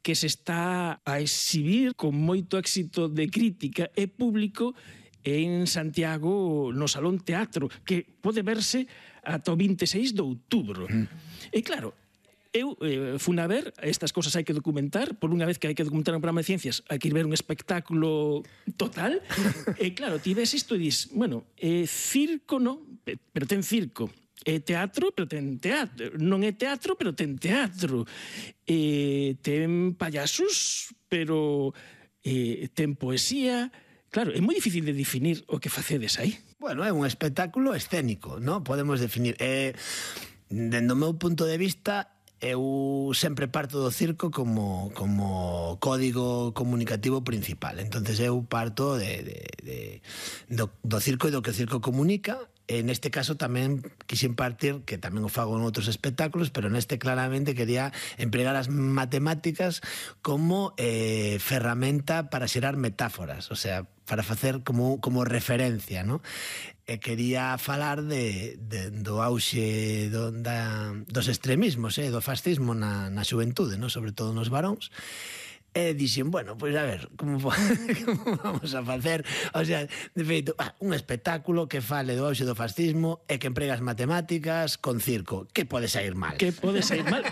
que se está a exhibir con moito éxito de crítica e público en Santiago no Salón Teatro, que pode verse ata o 26 de outubro. E claro, eu fun a ver, estas cosas hai que documentar, por unha vez que hai que documentar un programa de ciencias, hai que ir ver un espectáculo total, e claro, ti ves isto e dis, bueno, circo non, pero ten circo, é teatro, pero ten teatro, non é teatro, pero ten teatro, ten payasos, pero ten poesía. Claro, é moi difícil de definir o que facedes aí. Bueno, é un espectáculo escénico, non? Podemos definir. Dende o meu punto de vista, eu sempre parto do circo como código comunicativo principal. Entonces eu parto do circo e do que o circo comunica. En este caso tamén quixen partir, que tamén o fago en outros espectáculos, pero neste claramente quería empregar as matemáticas como ferramenta para xerar metáforas, o sea, para facer como referencia, non? E quería falar do auxe dos extremismos, do fascismo na xuventude, non? Sobre todo nos varóns. E dixen, bueno, pois a ver, como vamos a facer? O sea, de feito, un espectáculo que fale do auxe do fascismo e que emprega as matemáticas con circo. Que pode sair mal? Que pode sair mal?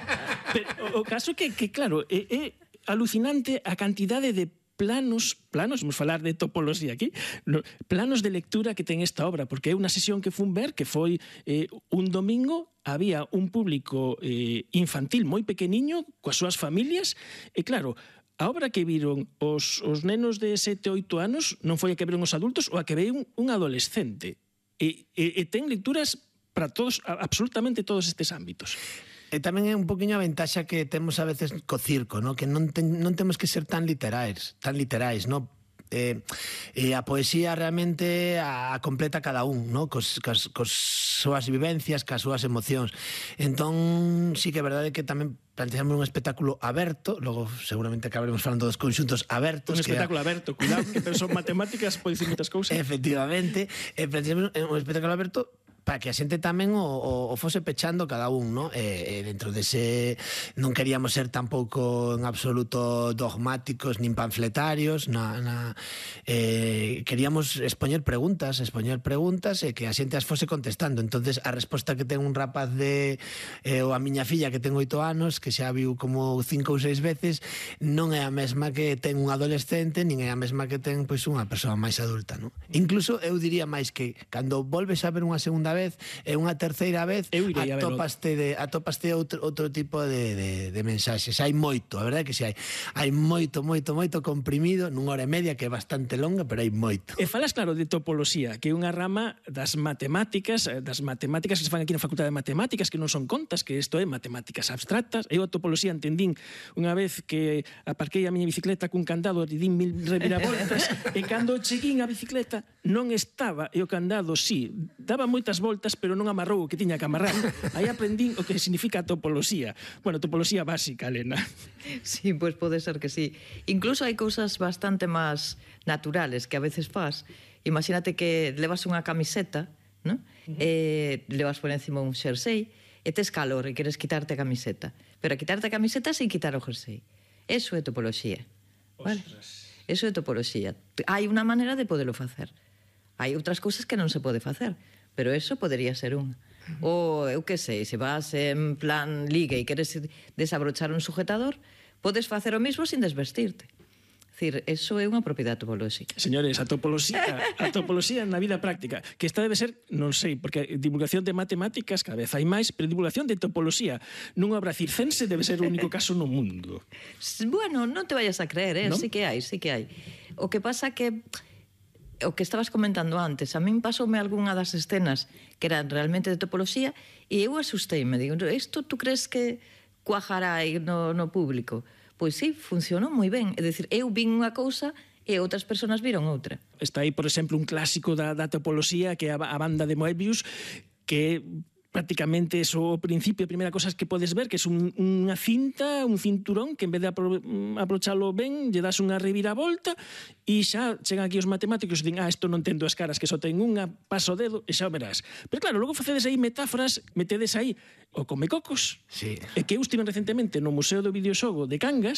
Pero o caso é que claro, é alucinante a cantidade de planos, vamos falar de topoloxía aquí, planos de lectura que ten esta obra, porque é unha sesión que fun ver, que foi un domingo, había un público infantil moi pequeniño, coas súas familias, e claro, a obra que viron os nenos de 7 ou 8 anos non foi a que viron os adultos ou a que veio un adolescente. E ten lecturas para todos, absolutamente todos estes ámbitos. E tamén é un poquinho a ventaxa que temos a veces co circo, ¿no? Que non temos que ser tan literais, ¿no? E a poesía realmente a completa cada un, ¿no? Cos súas vivencias, cas súas emocións. Entón, sí que é verdade que tamén planteamos un espectáculo aberto, logo seguramente acabaremos falando dos conxuntos abertos. Un espectáculo aberto, cuidado, que son matemáticas, pode dicir moitas cousas. Efectivamente, planteamos un espectáculo aberto para que a xente tamén o fose pechando cada un, ¿no? Dentro dese non queríamos ser tampouco en absoluto dogmáticos nin panfletarios, queríamos expoñer preguntas e que a xente as fose contestando. Entonces a resposta que ten un rapaz ou a miña filla que ten 8 anos, que xa viu como 5 ou 6 veces, non é a mesma que ten un adolescente, nin é a mesma que ten pois unha persoa máis adulta, ¿no? Incluso eu diría máis que cando volves a ver unha segunda vez e unha terceira vez atopaste outro tipo de mensaxes. Hai moito, a verdade que si hai moito comprimido nunha hora e media, que é bastante longa, pero hai moito. E falas claro de topoloxía, que é unha rama das matemáticas que se fan aquí na Facultade de Matemáticas, que non son contas, que isto é matemáticas abstractas. Eu a topoloxía entendín unha vez que aparquei a miña bicicleta cun candado e din 1000 reviravoltas e cando cheguín a bicicleta non estaba, e o candado sí, daba moitas voltas, pero non amarrou o que tiña que amarrar. Aí aprendín o que significa a topoloxía. Bueno, topoloxía básica, Elena. Sí, pois pode ser que sí. Incluso hai cousas bastante máis naturales que a veces faz. Imagínate que levas unha camiseta, ¿no? Levas por encima un xersei e tes calor e queres quitarte a camiseta. Pero a quitarte a camiseta sin quitar o jersei. Eso é topoloxía. Vale? Eso é topoloxía. Hai unha maneira de podelo facer. Hai outras cousas que non se pode facer, pero eso podería ser unha. Ou, eu que sei, se vas en plan liga e queres desabrochar un sujetador, podes facer o mismo sin desvestirte. É dicir, eso é unha propiedade topolóxica. Señores, a topoloxía na vida práctica, que esta debe ser, non sei, porque divulgación de matemáticas cada vez hai máis, pero divulgación de topoloxía nunha obra circense debe ser o único caso no mundo. Bueno, non te vayas a creer, ¿no? Sí que hai. O que pasa que o que estabas comentando antes, a min pasoume algunha das escenas que eran realmente de topoloxía e eu asustei-me, digo, isto tú crees que cuajará aí no público? Pois sí, funcionou moi ben, é dicir, eu vin unha cousa e outras persoas viron outra. Está aí, por exemplo, un clásico da topoloxía, que é a banda de Moebius, que prácticamente eso, o principio, a primeira cosa que podes ver, que é unha cinta, un cinturón, que en vez de abrochalo ben, lle das unha reviravolta, e xa chegan aquí os matemáticos e din, isto non ten dúas caras, que só ten unha, pasa o dedo, e xa o verás. Pero claro, logo facedes aí metáforas, metedes aí o Comecocos, sí. E que eu estive recentemente no Museo do Videoxogo de Cangas,